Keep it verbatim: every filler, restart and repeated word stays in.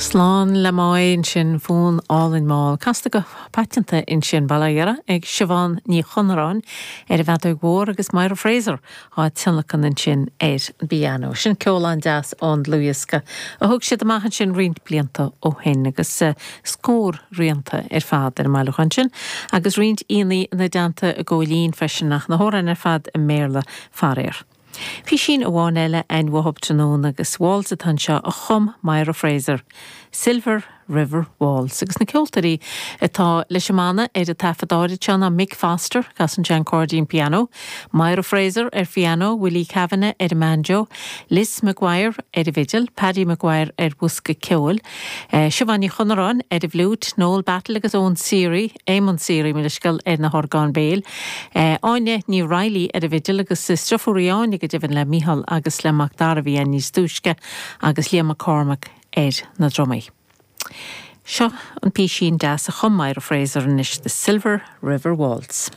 Slán le Máigh ansin fonn álainn mall casta go paiteanta ansin bailithe ag Siobhán Ní Chonaráin ar an bhfeadóg mhór agus Myra Fraser á tionlacan ansin ar an bpianó. Sin ceol an-deas ón dlúthdhiosca a thug siad amach ansin roinnt blianta ó shin agus uh, scór rianta ar fad ar an mbailiúchán sin, agus roinnt aíonna ina dteannta i gcóilín freisin ach na hamhráin ar fad i mBéarla faraor. Písín amháin eile an bhthab tráthnóna agus waltz atá anseo a chum Myra Fraser, Silver River Waltz agus na ceoltóirí atá leis an mbanna ar an taifead áirid seo ná Mick Foster casann sé an cairdín pianó, Myra Fraser ar phianó, Willie Kavanagh ar an mbanjo, Liz Maguire ar an bhfidil, Paddy Maguire ar bhosca ceoil, eh, Siobhán Ní Chonaráin ar an bhfliúit, Noel Battle agus Owen Seary, Éamon Seary mílisceal ar na horgáin béil, eh, Áine Ní Riley ar an bhfidil agus deirfiúr í Áine go deimhin le Micheál agus le Mac Dara a bhí níos túisce agus Liam McCormack ar na drumaí. Seo an písín deas a chum Myra Fraser anois the Silver River Waltz.